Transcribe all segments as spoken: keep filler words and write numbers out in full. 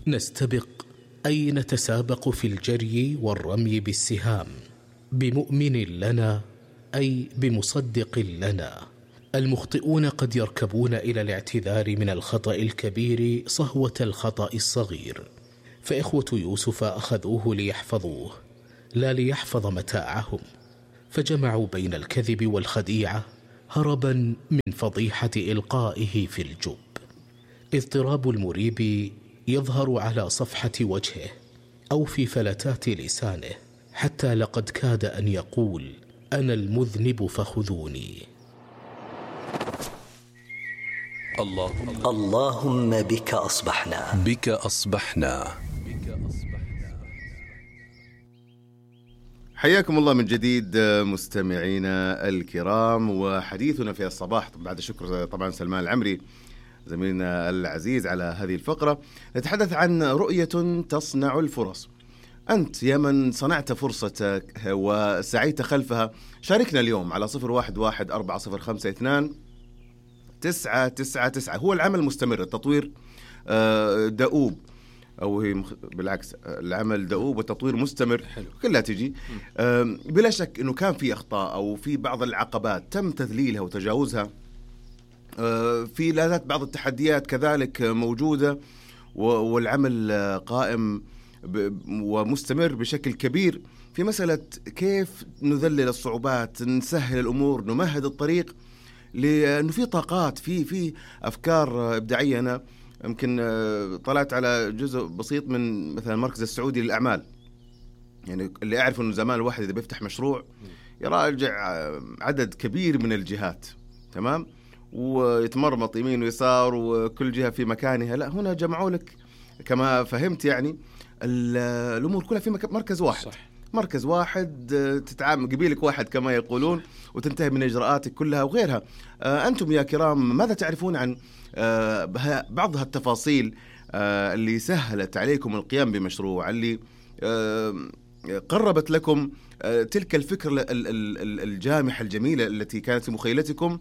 نستبق أي نتسابق في الجري والرمي بالسهام، بمؤمن لنا أي بمصدق لنا. المخطئون قد يركبون إلى الاعتذار من الخطأ الكبير صهوة الخطأ الصغير، فإخوة يوسف أخذوه ليحفظوه لا ليحفظ متاعهم، فجمعوا بين الكذب والخديعة هربا من فضيحة إلقائه في الجب. اضطراب المريب يظهر على صفحة وجهه أو في فلتات لسانه، حتى لقد كاد أن يقول أنا المذنب فخذوني. اللهم, اللهم بك أصبحنا بك أصبحنا حياكم الله من جديد مستمعينا الكرام، وحديثنا في الصباح بعد شكر طبعا سلمان العمري زميلنا العزيز على هذه الفقرة. نتحدث عن رؤية تصنع الفرص. أنت يا من صنعت فرصتك وسعيت خلفها، شاركنا اليوم على صفر واحد واحد أربعة صفر خمسة اثنان تسعة تسعة تسعة. هو العمل مستمر، التطوير دؤوب، أو هي بالعكس العمل دؤوب والتطوير مستمر. حلو. كلها تجي بلا شك أنه كان في أخطاء أو في بعض العقبات تم تذليلها وتجاوزها، في لا زالت بعض التحديات كذلك موجودة، والعمل قائم ومستمر بشكل كبير في مسألة كيف نذلل الصعوبات، نسهل الأمور، نمهد الطريق، لأنه في طاقات، في في أفكار إبداعية. أنا يمكن طلعت على جزء بسيط من مثلا المركز السعودي للأعمال، يعني اللي أعرف أنه زمان الواحد إذا بيفتح مشروع يراجع عدد كبير من الجهات، تمام، ويتمرمط يمين ويسار وكل جهة في مكانها. لا، هنا جمعوا لك كما فهمت يعني الأمور كلها في مركز واحد. صح. مركز واحد تتعامل قبيلك واحد كما يقولون، وتنتهي من إجراءاتك كلها وغيرها. أنتم يا كرام ماذا تعرفون عن بعض هالتفاصيل اللي سهلت عليكم القيام بمشروع، اللي قربت لكم تلك الفكرة الجامحة الجميلة التي كانت في مخيلتكم،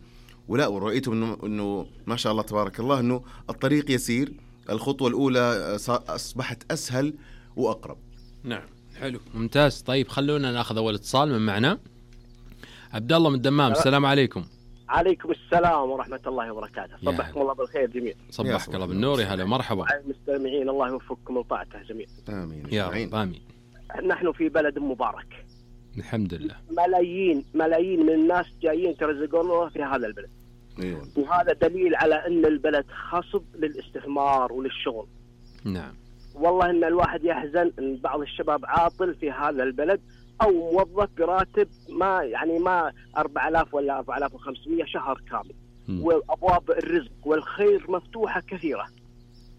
ولا ورأيتم إنه, إنه ما شاء الله تبارك الله إنه الطريق يسير، الخطوة الأولى أصبحت أسهل وأقرب. نعم، حلو، ممتاز. طيب خلونا ناخذ أول اتصال من معنا. عبد الله من الدمام، السلام عليكم. عليكم السلام ورحمة الله وبركاته. صبحكم الله بالخير جميع. صبحك الله بالنور، يا هلا مرحبا. المستمعين الله يوفقكم وطاعته جميع. آمين يا رب. آمين. نحن في بلد مبارك الحمد لله، ملايين ملايين من الناس جايين يرزقون في هذا البلد. أيوة. وهذا دليل على أن البلد خصب للاستثمار وللشغل. نعم. والله إن الواحد يحزن أن بعض الشباب عاطل في هذا البلد، أو موظف براتب ما يعني ما أربعة آلاف ولا أربعة آلاف وخمسمية شهر كامل. م. وأبواب الرزق والخير مفتوحة كثيرة.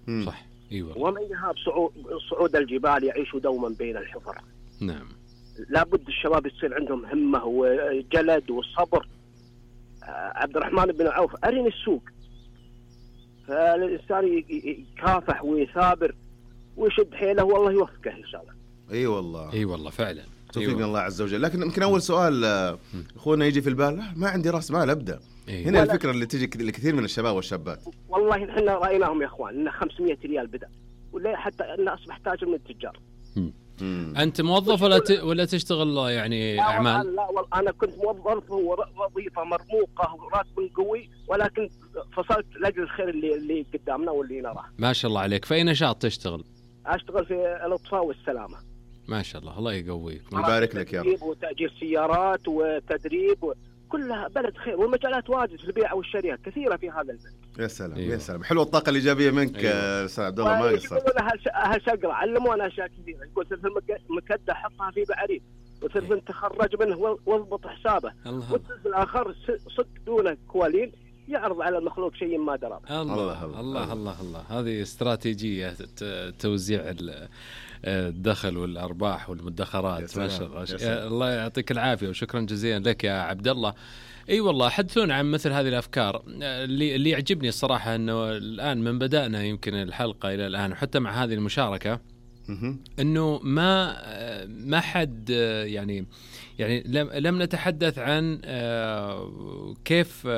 م. صح. أيوة. ومن يهاب صعود, صعود الجبال يعيش دوما بين الحفر. نعم. لابد الشباب يصير عندهم همة وجلد وصبر. عبد الرحمن بن عوف أرني السوق، فالإنسان يكافح ويثابر ويشد حيله والله يوفقه إن شاء الله. أي والله. أي والله فعلا. توفيق من الله عز وجل. لكن يمكن أول سؤال أخونا يجي في البال، ما عندي رأس مال أبدأ. أيوة. هنا الفكرة اللي تجي لكثير من الشباب والشابات. والله إحنا رأيناهم يا إخوان إن خمسمية ريال بدأ، ولا حتى إن أصبح تاجر من التجار. مم. أنت موظف ولا ت... ولا تشتغل يعني لا أعمال؟ لا والله أنا كنت موظف ووظيفة مرموقة وراتب قوي، ولكن فصلت لأجل الخير اللي اللي قدامنا واللي نراه. ما شاء الله عليك. في أي نشاط تشتغل؟ أشتغل في الإطفاء والسلامة. ما شاء الله، الله يقويك. مبارك لك يا رب. وتأجير سيارات وتدريب و... كلها بلد خير، والمجالات واجد في البيع والشراء كثيرة في هذا البلد. يا سلام. أيوة. يا سلام، حلوة الطاقة الإيجابية منك. أيوة. استاذ عبد الله ما يقصر. أهل شقرة علمونا أشياء كثيرة، يقول سلف المكدة حطها في بعريد، وسلف تخرج منه واضبط حسابه، والسلف الآخر صك دونه كوالين يعرض على المخلوق شيء ما درى. الله الله الله, الله الله الله. هذه استراتيجية توزيع الدخل والأرباح والمدخرات. ما شاء الله. الله يعطيك العافية وشكرا جزيلا لك يا عبد الله. اي والله، حدثونا عن مثل هذه الافكار. اللي اللي يعجبني الصراحه انه الان من بدانا يمكن الحلقه الى الان وحتى مع هذه المشاركه انه ما ما حد يعني يعني لم لم نتحدث عن كيف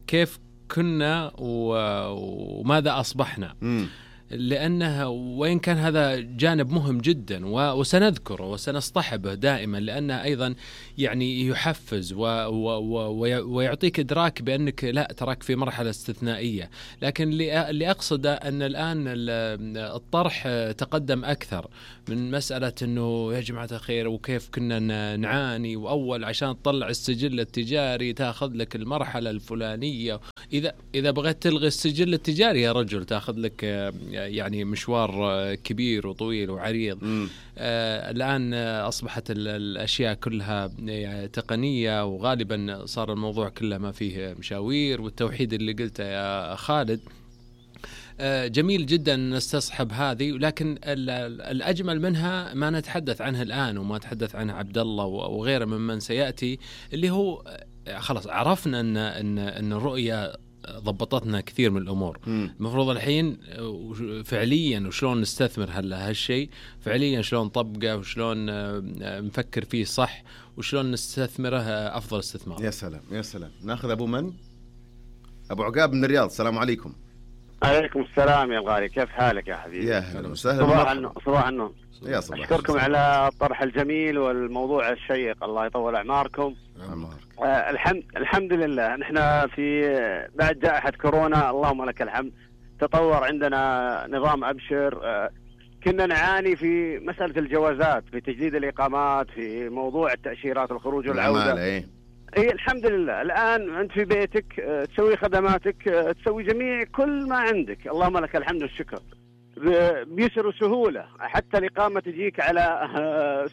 كيف كنا وماذا اصبحنا. لأنه وإن كان هذا جانب مهم جدا وسنذكره وسنصطحبه دائما، لأنه أيضا يعني يحفز ويعطيك إدراك بأنك لا تراك في مرحلة استثنائية. لكن اللي أقصده أن الآن الطرح تقدم أكثر من مسألة أنه يا جماعة الخير وكيف كنا نعاني، وأول عشان تطلع السجل التجاري تأخذ لك المرحلة الفلانية، إذا إذا بغيت تلغي السجل التجاري يا رجل تأخذ لك يعني مشوار كبير وطويل وعريض. آه الآن أصبحت الأشياء كلها تقنية، وغالبا صار الموضوع كله ما فيه مشاوير. والتوحيد اللي قلته يا خالد آه جميل جدا نستصحب هذه، لكن الأجمل منها ما نتحدث عنها الآن وما تحدث عنها عبد الله وغيره ممن سيأتي، اللي هو خلاص عرفنا أن أن أن الرؤية ضبطتنا كثير من الأمور. المفروض الحين فعليا وشلون نستثمر هلا هالشيء فعليا، شلون نطبقه وشلون نفكر فيه صح وشلون نستثمره أفضل استثمار. يا سلام يا سلام. ناخذ أبو من؟ أبو عقاب من الرياض. السلام عليكم. عليكم السلام يا الغالي، كيف حالك يا حبيبي؟ يا هلا وسهلا. صباح النور. صباح النور. يا صباح. أشكركم على الطرح الجميل والموضوع الشيق، الله يطول أعماركم. آه الحمد الحمد لله. نحن في بعد جائحة كورونا اللهم لك الحمد تطور عندنا نظام أبشر. آه كنا نعاني في مسألة الجوازات، في تجديد الإقامات، في موضوع التأشيرات الخروج والعودة. إيه إيه الحمد لله. الآن أنت في بيتك آه تسوي خدماتك، آه تسوي جميع كل ما عندك، اللهم لك الحمد والشكر بيسر وسهولة. حتى الإقامة تجيك على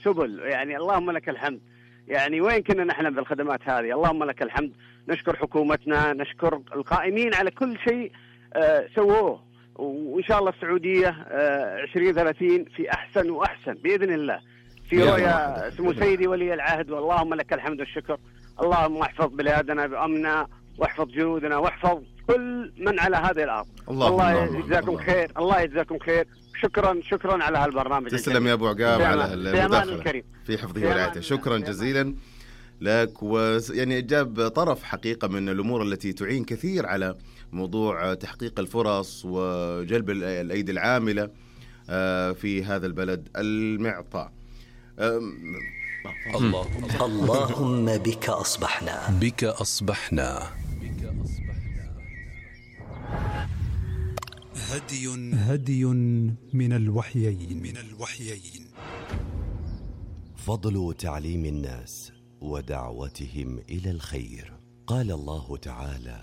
سبل، يعني اللهم لك الحمد. يعني وين كنا نحلم بالخدمات هذه؟ اللهم لك الحمد. نشكر حكومتنا، نشكر القائمين على كل شيء آه سووه، وإن شاء الله السعودية آه عشرين ثلاثين في أحسن وأحسن بإذن الله، في رؤيا سمو سيدي ولي العهد، واللهم لك الحمد والشكر. اللهم احفظ بلادنا بأمننا، واحفظ جنودنا، واحفظ كل من على هذه الأرض. الله يجزاكم خير، الله يجزاكم خير. شكرا شكرا على هالبرنامج. تسلم يا أبو عقاب على المداخلة في حفظه ورعايته. شكرا جزيلا لك. ويعني جاب طرف حقيقة من الأمور التي تعين كثير على موضوع تحقيق الفرص وجلب الأيدي العاملة في هذا البلد المعطاء. الله اللهم بك أصبحنا بك أصبحنا هدي هدي من الوحيين من الوحيين فضل تعليم الناس ودعوتهم إلى الخير. قال الله تعالى: